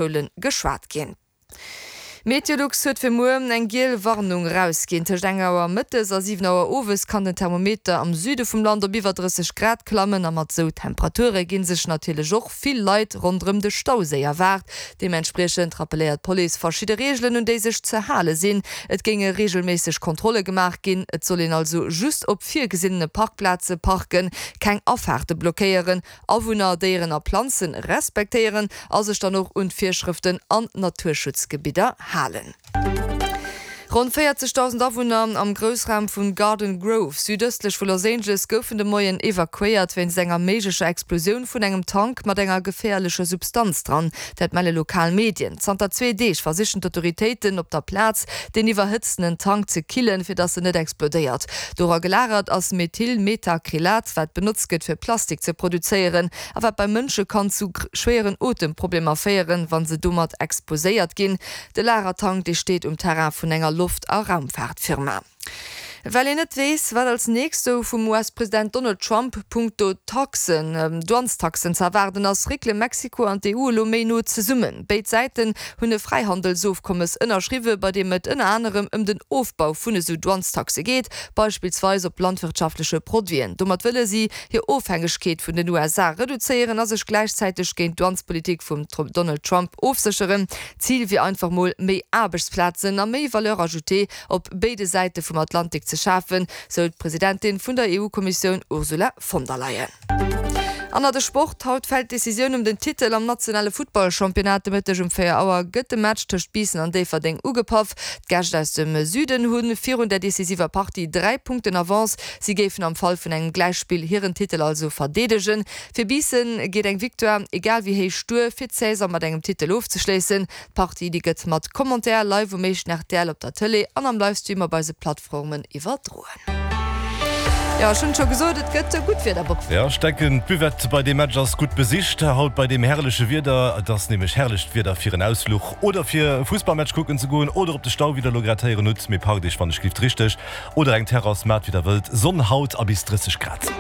Schoule geschwat ginn. Meteolux huet fir muer eng giel Warnung erausginn. Tëscht eng Auer mëttes a 7 Auer owes kann den Thermometer am Süde vum Land op iwwer 30 Grad klammen a mat sou Temperature gi sech natierlech och vill Leit ronderëm de Stauséi erwaart. Deementspriechend rappelléiert d'Police verschidde Reegelen un déi sech ze hale sinn. Et géinge reegelméisseg Kontrolle gemaach ginn, et soll een also just op virgesinnene Parkplaze parken, keng Afaarte blockéieren Awunner, Déieren a Planzen respektéieren a sech dann och un d'Virschrëften an Naturschutzgebidder halen. Ronn 40.000 Awunner am Groussraum vun Garden Grove, südëstlech vu Los Angeles, goufen de Moien evakuéiert wéinst enger méiglecher Explosioun vun engem Tank mat enger geféierlecher Substanz dran. Dat melle lokal Medien. Zanter zwee Deeg versichen d'Autoritéiten op der Plaz, deen iwwerhëtztenen Tank ze killen, fir datt en net explodéiert. Dora gelagert ass Methylmethacrylat, wat benotzt gëtt fir Plastik ze produzéieren a wat bei Mënsche kann zu schwéieren Otemproblemer féieren, wa se domat exposéiert ginn. De Lagertank, dee steet um Terrain vun enger Loft a Raumfaartfirma. Well een net weess, wat als nächst sou vum US-President Donald Trump punkto Taxen, Douanestaxen ze erwaarden ass, réckele Mexiko an d'EU elo méi no zesummen. Béid Säiten hunn e Fräihandelsofkommes ënnerschriwwe, bei deem et ënner anerem ëm den Ofbau vun esou Douanestaxe geet, beispillsweis op landwirtschaftleche Produiten. Domat wëlle si hir Ofhängegkeet vun den USA reduzéieren a sech gläichzäiteg géint d'Douanespolitik vum Donald Trump ofsécheren. Zil wier einfach mol méi Aarbechtsplazen a méi Valeur ajoutée op béide Säite vum Atlantik ze schafen, sou d'Presidentin vun der EU-Kommissioun Ursula von der Leyen. An nach de Sport, Haut fält d'Decisioun ëm den Titel am nationale Futtballchampionnat. De Mëtteg um 4 Auer gëtt de Match tëscht Biissen an Déifferdeng ugepaff. D'Gäscht aus dem Süden hu virun der decisiver Partie 3 Punkten Avance. Si géifen am Fall vun engem Gläichspill hiren Titel also verdeedegen. Fir Biissen geet eng Victoire egal wéi héich duer, fir d'Saison mat engem Titel ofzeschléissen. D'Partie déi gëtt mat Commentaire live um éischten rtl op der Tëlee an am Livestream op eise Plattformen iwwerdroen. Jo, ech hunn et scho gesot, et gëtt gutt Wieder, Bob. Jo, ech denken d'Buvette bei deem Match ass gutt besicht haut bei deem herrleche Wieder. Et ass nämlech herrlecht Wieder fir en Ausfluch oder fir e Fussballmatch kucken ze goen oder op de Stau, wéi der elo grad héieren hutt. Mee parkt iech wann ech gift richteg oder eng Terrass, maacht wéi der wëllt. Sonn haut a bis 30 Grad.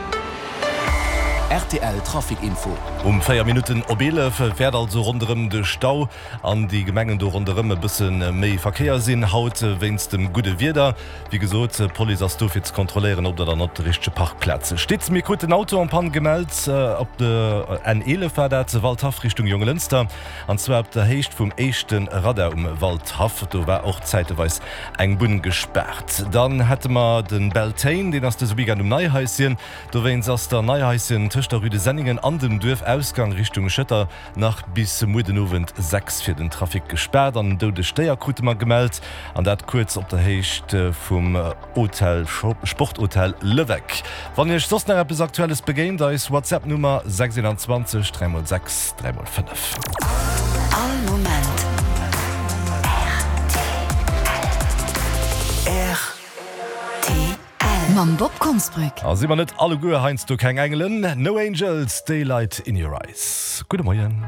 Rtl Trafic Info. Um 4 Minutten op 11 wäert also ronderëm de Stau an déi Gemengen do ronderëm e bësse méi Verkéier sinn haut wéinst dem gudde Wieder. Wéi gesot, d'Police ass do fir ze kontrolléieren, ob der dann op de richtege Parkplaze stitt. Mir kruten en Auto en panne gemellt, op der N11 war dat, Waldhaff Richtung Jonglënster, an zwar op der Héicht vum éischte Radar um Waldhaff. Do war och zäiteweis eng Bunn gespaart. Dann hätte mer de Beltane, deen ass dëse Weekend um Neihaischen. Dowéinst ass der Neihaischen tëscht der Rue de Senningen an dem Duerfausgang Richtung Schëtter Nach bis muer den Owend 6 fir den Trafic gespaart an en doudegt Déier krute mer gemellt an dat kuerz op der Héicht vum Hotel Sporthotel Levecq. Wann iech soss nach eppes Aktuelles begéint, eis WhatsApp Nummer 621 3 x 6 3 x 5. All Moment rtl. Mam Bob Konsbrück. A si mer net alleguer heiansdo keng Engelen? No Angels, Daylight in Your Eyes. Gudde Moien.